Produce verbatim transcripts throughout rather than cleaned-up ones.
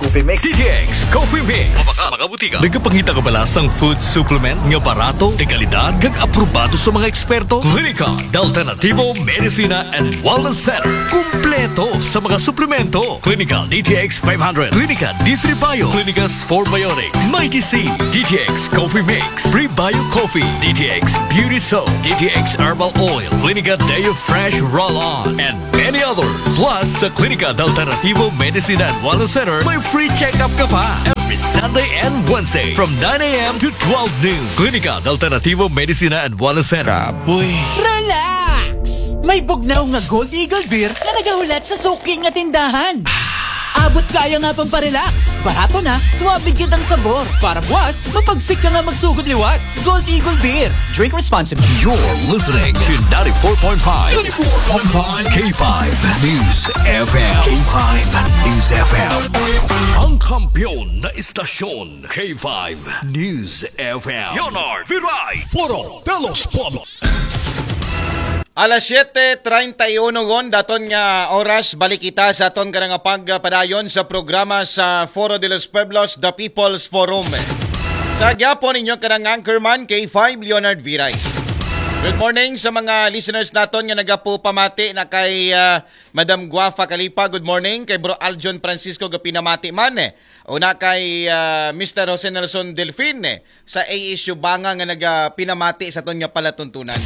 Coffee Mix. D T X Coffee Mix. Sa mga butika. Nagapangita ka ba lasang food supplement nga barato, de kalidad, kag aprobado sa mga eksperto? Klinika de Alternativo Medicina and Wellness Center. Kumpleto sa mga suplemento. Klinika D T X five hundred, Klinika D three Bio, Klinika Spore Biotics, Mighty C, D T X Coffee Mix, Prebio Coffee, D T X Beauty Soap, D T X Herbal Oil, Klinika Deo Fresh Roll-On, and many others. Plus, sa Klinika de Alternativo Medicina and Wellness Center, may free check-up ka pa every Sunday and Wednesday from nine a.m. to twelve noon. Klinika de Alternativo Medicina and Wellness Center. Kapoy. Relax! May bugnaw nga Gold Eagle Beer na nagahulat sa suki nga tindahan. Abot kaya nga pamparelax. Barato na, suabe gyud ang sabor. Para buwas, mapagsik ka nga magsugod liwat. Gold Eagle Beer. Drink responsibly. You're listening to ninety-four point five, ninety-four point five K five News F M. K five News F M. Ang kampiyon na istasyon, K five News F M. Leonard Viray. Foro de los Pueblos. Alas siete treinta y uno gon, daton nga oras, balik kita sa aton kanang pagpadayon sa programa sa Foro de los Pueblos, The People's Forum. Sa gyapon, inyong kanang anchorman, K five Leonard Viray. Good morning sa mga listeners naton nga nagapupamati na kay ah, Madam Guafa Kalipa. Good morning kay Bro Aljon Francisco, gapinamati man. Una kay ah, Mister Jose Nelson Delfin sa A S U Banga nga nagapinamati sa aton nga palatuntunan.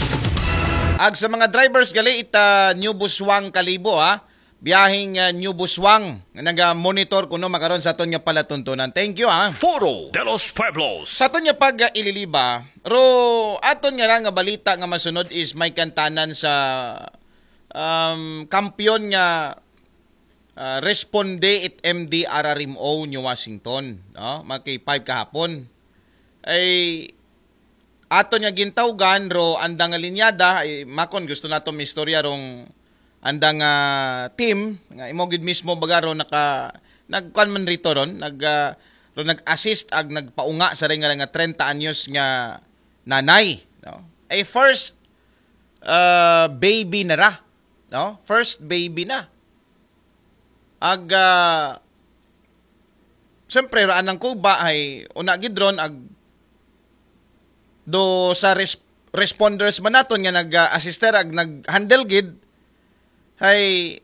Ag sa mga drivers gali ita New Busuan Kalibo ha. Biyahing ah, New Busuan nga naga-monitor kuno makaron sa aton nga palatuntunan. Thank you ha. Foro de los Pueblos. Sa aton nga pag-ililiba, ro aton nga ra nga balita nga masunod is may kantanan sa um, kampiyon nga ah, responde it M D R R M O New Washington, no? Mga K five kahapon. Ay aton nga gintawgan ro andang nga linyada, ay makon gusto nato istorya rong andang nga team nga imo gid mismo baga ro naka nagkuan man rito ron, nag ah, ro nag-assist ag nagpaunga sa ring nga treinta anyos nga nanay, no? Ay first ah, baby na ra, no? First baby na. Ag ah, siyempre, raan ang kuba ay una gid ron ag do sa res- responders man naton nga nag-assister ag nag-handle gid ay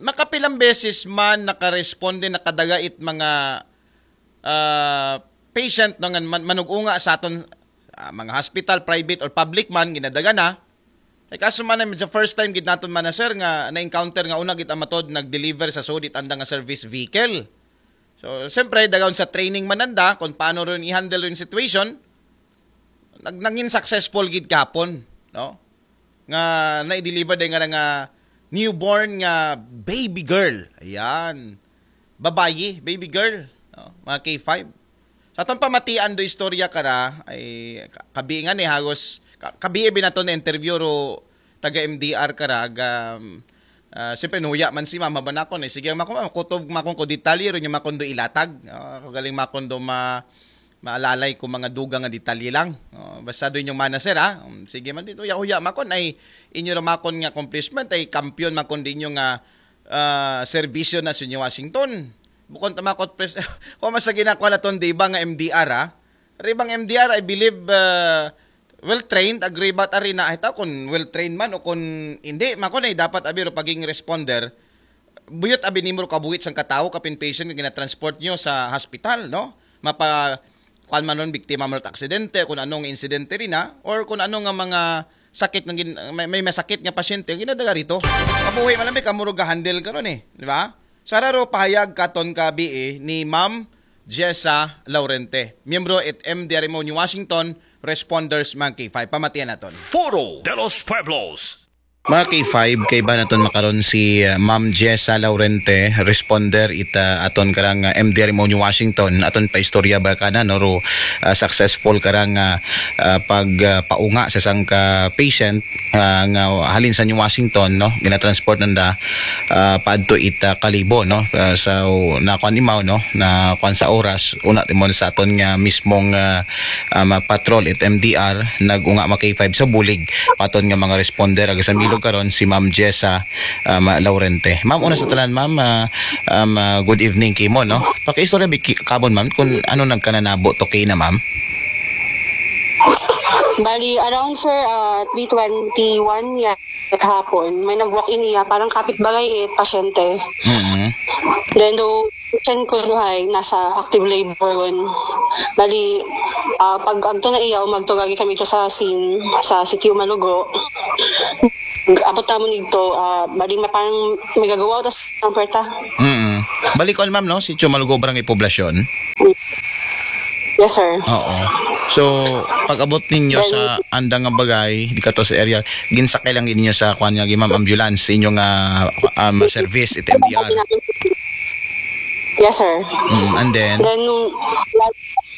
makapilang beses man nakaresponde, nakadaga it mga ah, patient no nga man- manug-unga sa aton ah, mga hospital, private or public man, ginadaga na. Ay kaso man, sa first time gid naton man na, sir, nga na-encounter nga una gid ang matod nag-deliver sa sudit andang nga service vehicle. So, siyempre, dagaon sa training man nanda kung paano rin i-handle yung situation. Nag nangin successful gid kahapon, no? Nga na-deliver din nga nga newborn nga baby girl. Ayan. Babayi, baby girl, no? Mga K five. Sa atong pamatian do istorya kara, ay ka- kabiingan eh, hagos, ka- kabii binato na interview ro taga M D R kara, ag, um, ah, siyempre, nuya man si mama ba nakon eh. Sige, makon, kutob makon ko detalye ro nyo makon do ilatag. Ah, ako galing makon do ma, maalalay ko mga dugang nga detalye lang. Oh, basta do inyong manager, ha? Um, sige man dito, huya-huya makon ay inyo ra makon nga accomplishment, ay kampiyon makon din yung nga ah, serbisyo na sa inyo Washington. Bukon tamakot pres, kung mas sa ginako na ton di ba nga M D R, ha? Ribang M D R, I believe, ah, well trained, agree ba ta rin na, ay tao kung well trained man o kung hindi, makon ay dapat abi ro paging responder, buyot abi nimo ro kabuhit sang katao, kapin patient nga ginatransport nyo sa hospital, no? Mapa, kuan man ron, biktima man ron aksidente, kung anong insidente rin na, or kung ano nga mga sakit nga gin, may, may masakit nga pasyente, ginadaga rito. Kabuhi man lang, kamurog handle karon eh, di ba? Sa raro pahayag katon ka B A ni Ma'am Jessa Laurente, miyembro at M D R M O New Washington, responders mga K five. Pamatian naton. Foro de los Pueblos. Mga K five, kay ba naton makaron si uh, Ma'am Jessa Laurente, responder ita aton karang uh, M D R M O New Washington, aton pa istorya ba kana no ro uh, successful karang uh, uh, pag uh, paunga sa sangka patient uh, nga halin sa New Washington, no, ginatransport nanda uh, paadto ita Kalibo, no. Uh, so nakuan imaw, no, na kuan sa oras una timon sa aton nga mismong uh, um, patrol it M D R nag-unga mga K five sa bulig paton nga mga responder ag sa milog karon si Ma'am Jessa, um, Laurente. Ma'am, una sa tanan, ma'am, ah, um, ah, good evening kimo, no? Pakiistorya bi ki-, kamon, ma'am, kung ano nagkananabo to kay na, ma'am. Bali, around, sir, uh, three twenty-one yan hapon. May nag-walk-in niya, parang kapitbahay, eh, pasyente. Mm. Then, do patient ko duhay, nasa active labor ron. Bali, ah, pag agto na iya, umagto gagi kami to sa scene, sa City Umalugo. Abot naman dito, ah, bali, ma-, parang may gagawa, tas ang puwerta. Mm. Balik ko, ma'am, no? Si Chumalugo, Barangay Poblasyon. Yes, sir. Oo. So, pag-abot ninyo Then, sa andang nga bagay, di ka to sa area, ginsakay lang ninyo sa, kuan nga, ma'am, ambulance, sa inyong, ah, um, service, it M D R. Yes, sir. Mm, and then, Then, nung,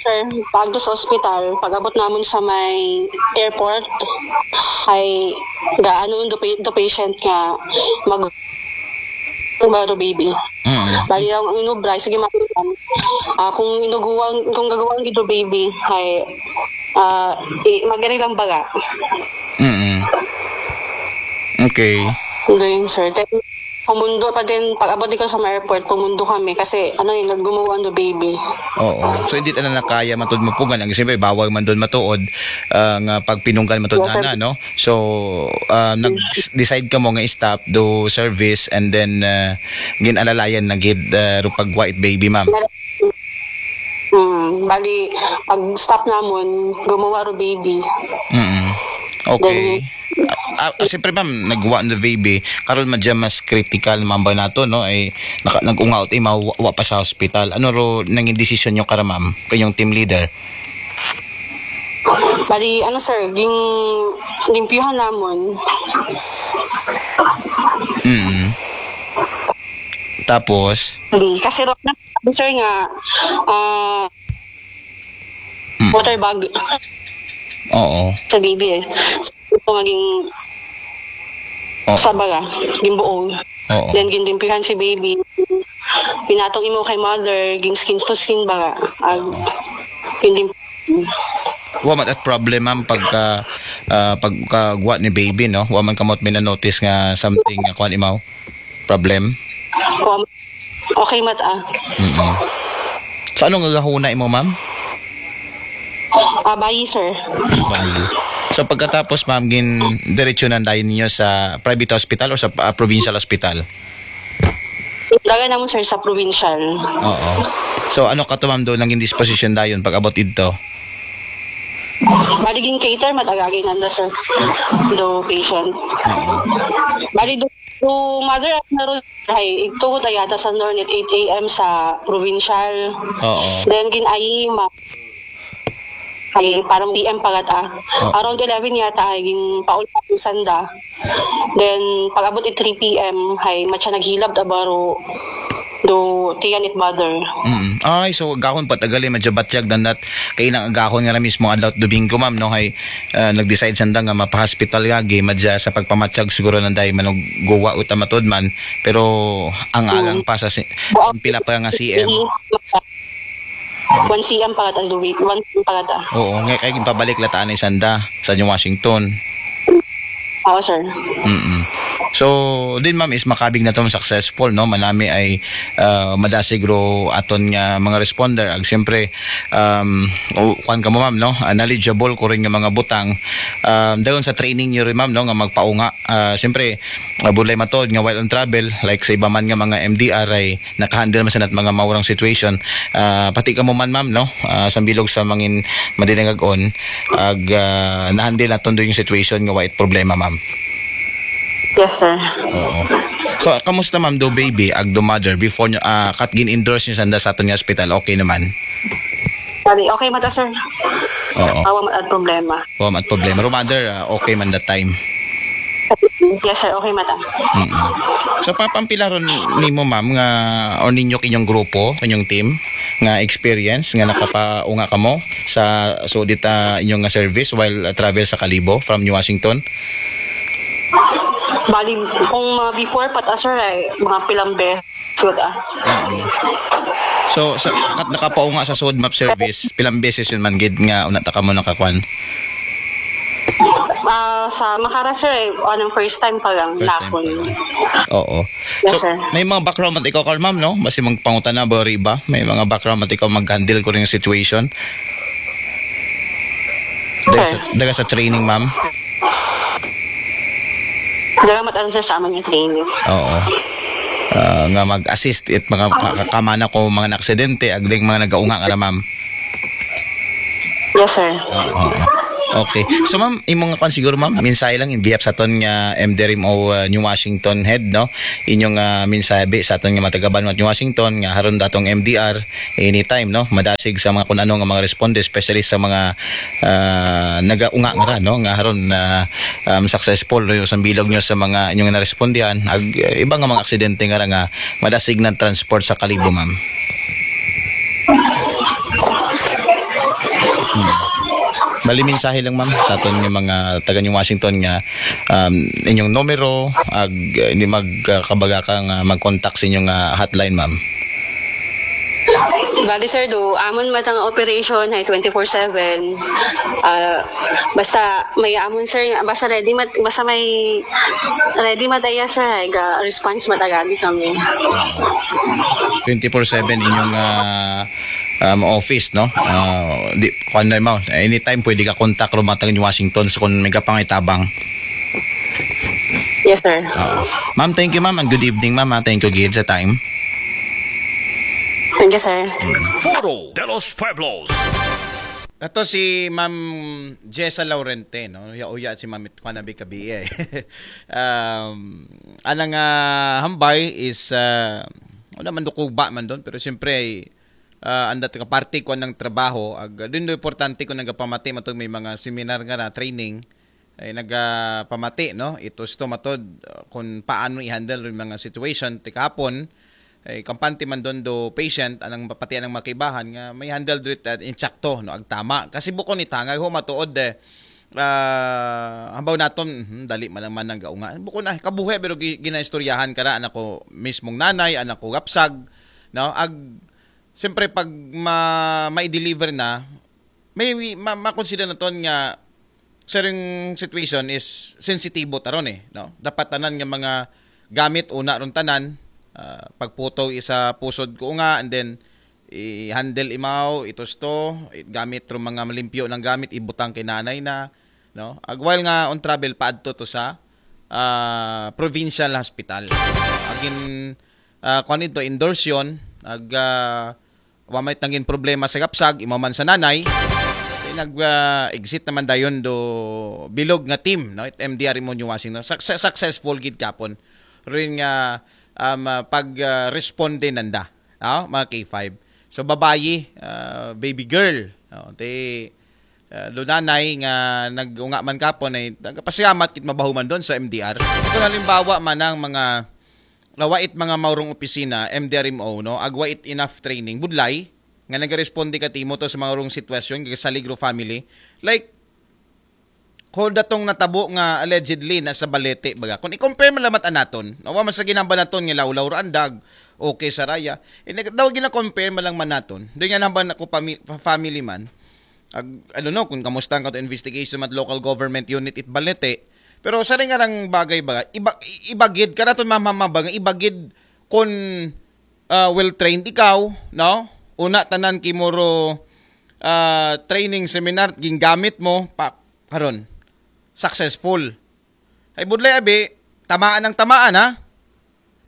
sir, pag sa hospital, pag-abot naman sa may airport, ay gaano do, pa- do patient nga mag baro baby. mm, Bali lang ang inubra, sige, ma'am. Ah, kung inuguan, kung gagawan gid do baby, ay, ah, i- magari lang baga. mm. Okay. Doon, sir. Then, pumundo pa din, pag-abot ko sa may airport, pumundo kami kasi, ano yun, gumawa ang baby. Oo. So, hindi na nakaya matud mapugan. Ang siyempre, bawal man doon matuod, ah, nga pagpinunggan matud Yes, sir. na, no? So, ah, nag-decide ka mo nga stop do service and then, ah, ginalalayan na gid, ah, ro pagwa it baby, ma'am. Hmm, bali, pag stop namun, gumawa ro baby. Mm. Okay. Ah, ah, siyempre, ma'am, nagwa na baby. Karon madya mas critical, ma'am, ba nato, no? Ay, naka, nag-ungaot, eh, mawa pa sa hospital. Ano ro nangin desisyon nyo kara, ma'am? Kanyang team leader? Bali, ano, sir, yung limpyuhan namun, Mm. Tapos? hindi, kasi ro na, sir, nga, ah, Mm. water bag Oo. sa baby, eh. Ito maging Oo. sa baga, yung buong. Oo. Then, ginlimpihan si baby. Pinatong imo kay mother, gin skin to skin baga. Ag, pinlim- Wa man at problem, ma'am, pagka, ah, pagkagwa ni baby, no? Wa man kamot may na-notice nga something nga kuan imaw? Problem? Okay, mata. Mm. So, ano nga gahuna imo, ma'am? Ah, bayi, sir. Bali. So, pagkatapos, ma'am, gin diretso na dayon ninyo sa private hospital o sa, ah, provincial hospital? Dagan naman, sir, sa provincial. Oo. So, ano ka to, ma'am, doon nangin disposition dayon pag-abot idto? Bali, gin cater, matagagay nanda, sir. Do patient. Oo. Bali, do, do mother at meron ay, igtugot ay yata sa Nornit eight a.m. sa provincial. Oo. Then, gin-ayima. Ay, parang P M pagat, ah. Oo. Around eleven yata ay gin paul sanda. Then, pag-abot i three p.m. ay matya naghilab ta baro do tiyan it mother. Mm. Ay, so gahon pa tagali, madya batyag dandat kay nang agahon nga na mismo adlaw Domingo, ma'am, no? Hay, ah, nag-decide sanda nga mapa-hospital gagi, madya sa pagpamatyag siguro nanday manuguwa uta matud man, pero ang agang pa sa si, pila pa nga C M. One C M pa kata, Louis. One C M pa kata. Oo, nga kay pabalik lataan ni sanda sa New Washington. Oo, sir. Mm. So, din, ma'am, is makabig na to successful, no? Manami ay, ah, madasig ro aton nga mga responder. Ag siyempre, um, o, kuwan ka mo, ma'am, no? Ah, knowledgeable ko rin nga mga butang. Um, dayon sa training nyo rin, ma'am, no? Nga magpaunga. Ah, siyempre, ah, budlay matod nga while on travel, like sa iba man nga mga M D R ay nakahandle man sanat mga maurang situation. Ah, pati ka mo man, ma'am, no? Ah, sambilog sa mangin madinagag-on, ag, ah, nahandle naton do yung situation nga white problema, ma'am. Yes, sir. Oo. So, kamusta, ma'am, do baby, ag do mother, before nyo, ah, kat gin-endorse nyo sanda sa aton nga hospital, okay naman? Bali, okay mata, sir. Oo. Awa man at problema. Wa man at problema. Ro mother, ah, okay man that time. Yes, sir. Okay mata. Mm-mm. So, papampila ron nimo, ma'am, nga, or ninyo kinyong grupo, kinyong team, nga experience, nga nakapaunga kamo sa, so, dita inyong nga service while, ah, travel sa Kalibo from New Washington? Bali, kung mga before pa ta, sir, ay mga pilang beses, ah. So, sa, kat nakapaunga sa sud map service, pilang beses yun man gid nga una ta kamo nakakwan? Ah, sa Makara, sir, eh, anong first time pa lang First time nakon. pa lang. Oo. Yes, So, sir. May mga background man ikaw, Carl, ma'am, no? Basi magpangutana ba rin iba? May mga background man ikaw mag-handle ko rin yung situation? Daga sa, Sir. Daga sa training, ma'am? Dalamat ang, sir, sa amin yung training. Oo. Ah, nga mag-assist it mga ka- kamana ko mga aksidente, agding mga nagaunga nga ra, ma'am. Yes, sir. Oo. Okay. So, ma'am, imong kwan siguro, ma'am, mensahe lang in behalf sa aton nga M D R M O, uh, New Washington head, no? Inyong uh, mensahe bi sa aton nga mga taga-Banwa New Washington nga haron datong M D R anytime, no? Madasig sa mga kun ano nga mga responde, especially sa mga uh, nagaunga nga ra, no? Nga haron na um, successful no, sa bilog nyo sa mga inyong narespondihan, ag uh, iba nga mga aksidente nga ra nga madasig na transport sa Kalibo, ma'am. Hmm. Bali mensahe lang, ma'am, sa aton nga mga taga New Washington nga um, inyong numero ag uh, hindi magkabaga ka nga mag-contact sa inyong uh, hotline, ma'am. Bali, sir, do amon matang operation ay twenty-four seven. Ah, basta may amon, sir, basta ready mat basta may ready mat aya, sir, ay ga response mat agadi kami. Twenty-four seven inyong uh, um, office, no? Uh, di, kuan na mo, anytime pwede ka contact ro matang Washington so kung may kapangitabang. Yes, sir. Uh, ma'am, thank you, ma'am, and good evening, ma'am. Ha? Thank you again sa time. Thank you, sir. Foro de los Pueblos. Ato si Ma'am Jessa Laurente, no? Uya-uya si Ma'am Kwanabi Kabi eh. um, anang uh, hambay is uh, wala man dukuba man doon, pero siyempre uh, anda ka parte ko ng trabaho ag din do importante ko nagapamati matog may mga seminar nga na training ay nagapamati, no, ito sto matod uh, kung paano i-handle yung mga situation ti kahapon ay kampante man doon do patient anang pati anang makibahan nga may handle do it uh, insakto, no, agtama kasi bukon itangag ho matuod eh uh, hambaw naton hmm, dali man lang man ang gaunga bukon na kabuhi pero gi- ginaistoryahan ka ra anak ko mismong nanay anak ko gapsag, no, ag siyempre pag ma ma-deliver na may ma, ma-consider naton nga certain situation is sensitibo taron eh, no? Dapat tanan nga mga gamit una ron tanan uh, pagputo isa pusod ko nga and then i-handle imaw itos to gamit ro mga malimpyo ng gamit ibutang kay nanay na, no, agwal nga on travel paadto to sa uh, provincial hospital agin uh, kung ito endorse yun ag uh, wa may tangin problema sa gapsag imaw man sa nanay nag uh, exit naman dayon do bilog nga team, no, it M D R mo New Washington success, successful gid kapon rin nga um, uh, pag uh, responde nanda, no, mga K five so babayi uh, baby girl, no, te uh, lunanay nga nagunga man kapon ay nagpasalamat kit mabahuman doon sa M D R kung halimbawa man ang mga uh, wait mga maurong opisina M D R M O, no, agwait enough training budlay nga nagaresponde ka timo to sa mga urong sitwasyon kay sa Ligro family like hold datong natabo nga allegedly na sa balete baga kung i-compare man lamat anaton nawa man sa ginamba naton nga lawlaw ra andag okay sa raya eh, daw gina-compare man lang man naton doon nga namba ko pami- family man ag, I don't know kung kamusta ang kato investigation at local government unit it balete pero sa rin nga rang bagay ba iba, ibagid ka naton mamamabang ibagid kung uh, well trained ikaw, no? Una tanan kimuro uh, training seminar gingamit mo pa karon successful. Ay budlay abi tamaan ang tamaan ha.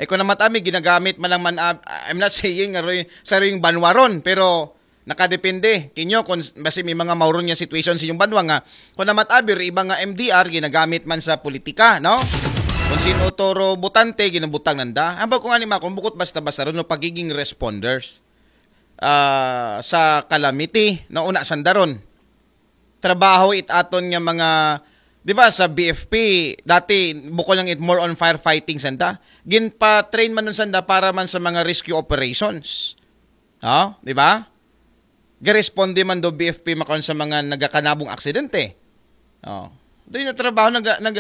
Ay ko naman ami ginagamit man lang man ab- I'm not saying nga roy sa ring banwaron pero nakadepende kinyo kung basi may mga mauron nga situation sa inyong banwa nga kung namat abi ro iba nga M D R ginagamit man sa politika, no? Kung sino toro butante ginabutang nanda. Hamba ko nga ni makon bukot basta-basta ron no pagiging responders ah, sa calamity no una sandaron. Trabaho it aton nga mga di ba sa B F P dati bukol lang it more on firefighting sanda. Ginpa-train man nun sanda para man sa mga rescue operations. No? Di ba? Garesponde man do B F P makaon sa mga nagakanabong aksidente. Oh. Do yung trabaho nag nag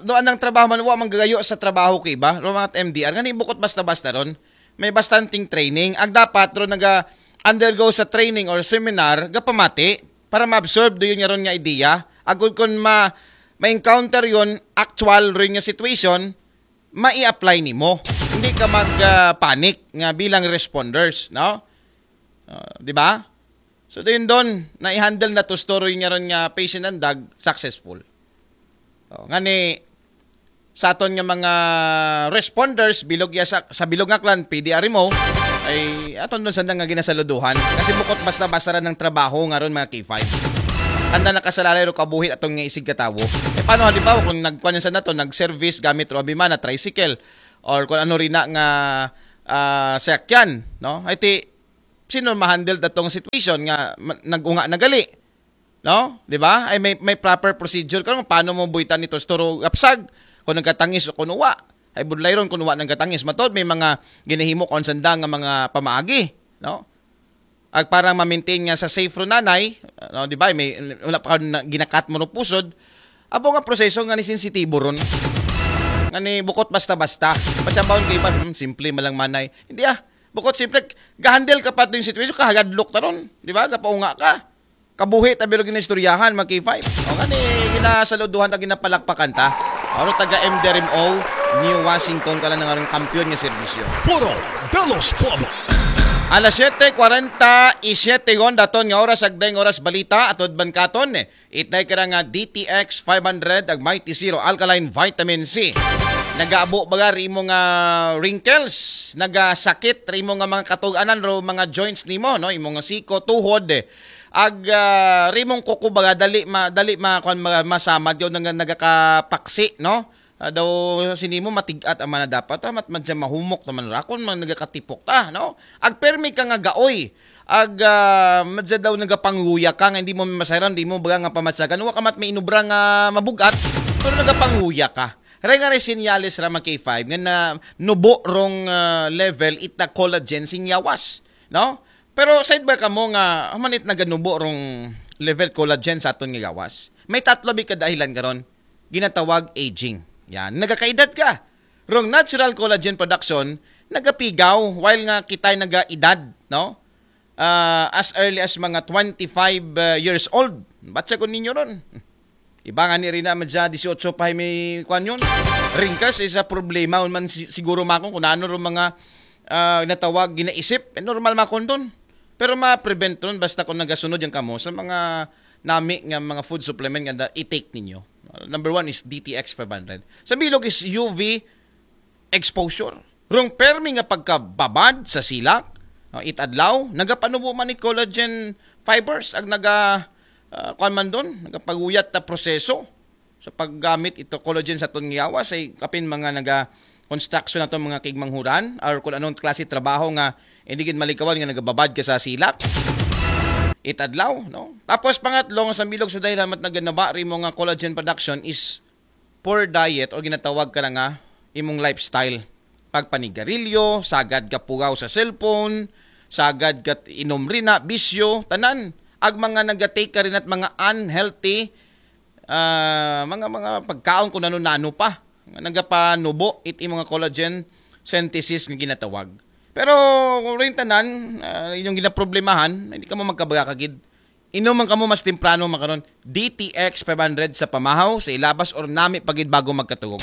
do anang trabaho man wa man gagayo sa trabaho ko iba, ro mga M D R ngani bukot basta-basta ron. May bastanting training. Ag dapat ro naga undergo sa training or seminar gapamati para ma-absorb do yun nga ron nga idea. Agud kon ma ma-encounter yon, actual rin nga situation, mai-apply nimo. Hindi ka mag-panic nga bilang responders, no? Ah, di ba? So, dayon don, na-handle nato story nga ron nga patient ang dag, successful. Oh, ngani, sa aton nga mga responders, bilog ya sa, sa bilog nga clan, P D R M O, ay aton don sanda nga ginasaluduhan. Kasi bukot basta-basta ra ang trabaho nga ron, mga K five. Handa nakasalalay ro kabuhi aton nga isig katawo. Eh, paano halimbawa kung nagkuan sa nato, nag-service gamit ro abi man na tricycle or kung ano rin na nga ah, sakyan, no? Ay ti, sino ma-handle datong situation nga ma- nag-unga na gali? No? Di ba? Ay may, may proper procedure ka kung paano mo buhitan ito, toro gapsag, kung nagkatangis o kung uwa. Ay budlay ron kung uwa nagkatangis. Matod, may mga ginahimo kung sanda nga mga pamaagi. No? Ag parang ma-maintain nga sa safe ro nanay, no? Di ba? May, wala pa ka na, ginakat mo ro pusod. Abo nga proseso nga ni sensitibo ron. Nga ni bukot basta-basta. Pasyabaon ka iba, hmm, simple malang manay. Hindi ah. Bukot simple, gahandle ka pa ito yung situation, kahadlok ta ron. Di ba? Gapaunga ka. Kabuhi ta bilog ginaistoryahan, mga K five. O nga ni, ginasaluduhan ta, ginapalakpakan ta. Ano taga M D R M O, New Washington, ka lang nga rin kampiyon nga serbisyo. Foro de los Pueblos. Alas siyete kwarenta y siyete gon daton nga oras, agdeng oras balita, atod ban katon, eh. Itay ka nga D T X five hundred, ag Mighty Zero Alkaline Vitamin C. Nagaabo baga ri imo nga wrinkles, nagasakit ri imo nga mga katug-anan ro mga joints nimo, no? Imo nga siko, tuhod, eh. Ag ah, rimong kuko baga dali ma, dali ma, kuan, ma, masamad yo nang nagakapaksi, no? Ah, daw sinimo matig-at ang mana dapat, ah, mat madya mahumok naman ra kun man nagakatipok ta, no? Ag permi ka nga gaoy. Ag ah, madya daw nagapanguya ka nga hindi mo masayran, di mo baga nga pamatsagan, wa ka mat may inubra nga mabugat, pero nagapanguya ka. Ray nga ray sinyales ra, mga K five, nga na nubo rong ah, level ita collagen sing yawas, no? Pero side ba kamo nga human it naganubo rong level collagen sa aton nga gawas? May tatlo bi ka dahilan karon. Ginatawag aging. Yan, nagakaedad ka. Rong natural collagen production nagapigaw while nga kitay nagaedad, no? Ah, as early as mga twenty-five ah, years old. Batsa ko ninyo ron. Iba nga ni Rina madya dieciocho pa may kwan yun. Ringkas is a problema man si- siguro makon kung ano ro mga ah, natawag ginaisip. Eh, normal makon doon. Pero ma-prevent ron basta kung nagasunod yan kamo sa mga nami nga mga food supplement nga da- i-take ninyo. Number one is D T X five hundred. Sa bilog is U V exposure. Rong permi nga pagkababad sa silak, ah, it adlaw, nagapanubo man ni collagen fibers ag naga ah, kuan man doon, nagapaguyat ta proseso sa paggamit ito collagen sa aton yawas ay kapin mga naga construction nato mga kigmanghuran or kung anong klase trabaho nga hindi gid malikawan nga nagababad ka sa silak it adlaw, no? Tapos pangatlo nga sa bilog sa dahilan mat naganaba ri mo nga collagen production is poor diet o ginatawag ka na nga imong lifestyle. Pagpanigarilyo, sagad ka pugaw sa cellphone, sagad ka inom rin na, bisyo, tanan. Ag mga nagatake ka rin at mga unhealthy, ah, mga mga pagkaon kung ano-nano pa. Nga nagapanubo it imong collagen synthesis nga ginatawag. Pero kung rin tanan, ah, inyong ginaproblemahan, hindi ka mo magkabaga kagid. Inom man kamo mas temprano makaron. D T X five hundred sa pamahaw, sa ilabas or nami pagid bago magkatugog.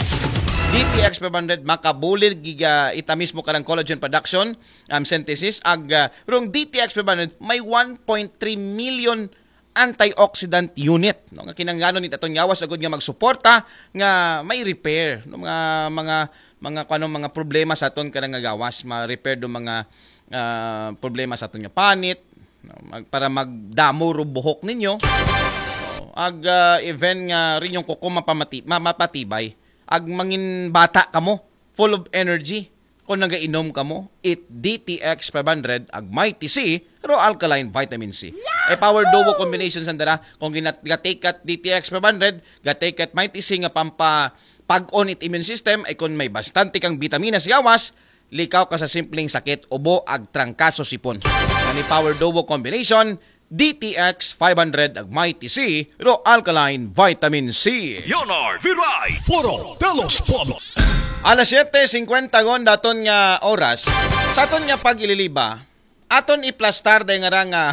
D T X five hundred makabulig giga ita mismo karang collagen production, um, synthesis ag ah, rong D T X five hundred may one point three million antioxidant unit, no, nga kinangganon ni aton yawas agud nga magsuporta nga may repair, no, mga mga mga kuno mga problema sa aton kanang nga gawas, ma-repair do mga ah, problema sa aton nga panit, no, mag, para magdamo ro buhok ninyo. No, ag ah, even nga rin yung kuko mapamati, ma, mapatibay. Ag mangin bata kamo, full of energy. Kung nagainom kamo, it D T X five hundred ag Mighty C, ro alkaline vitamin C. E power duo combination sanda ra. Kung ginat gatake at D T X five hundred, gatake at Mighty C nga pampa pag-on it immune system ay kung may bastante kang bitaminas gawas, likaw ka sa simpleng sakit, ubo ag trangkaso sipon. Ani power duo combination, D T X five hundred ag Mighty C, ro alkaline vitamin C. Leonard Viray, Foro de los Pueblos. Alas siyete singkwenta gon daton nga oras. Sa aton nga pag-ililiba, aton iplastar day nga ra nga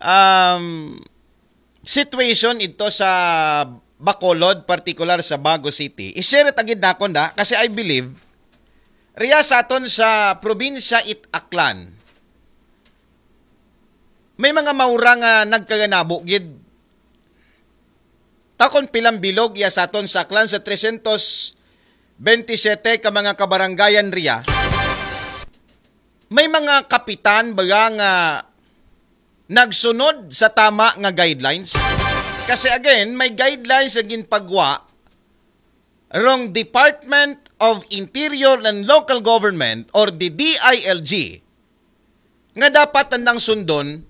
um, situation ito sa Bacolod, particular sa Bago City. I-share it agad nakon da, kasi I believe, riya sa aton sa probinsya it Aklan, may mga maura nga nagkaganabo gid. Takon pilang bilog iya sa aton sa Aklan sa tresyentos bente siyete ka mga kabarangayan riya. May mga kapitan ba nga nagsunod sa tama nga guidelines? Kasi again, may guidelines ang ginpagwa rong Department of Interior and Local Government or the D I L G nga dapat andang sundon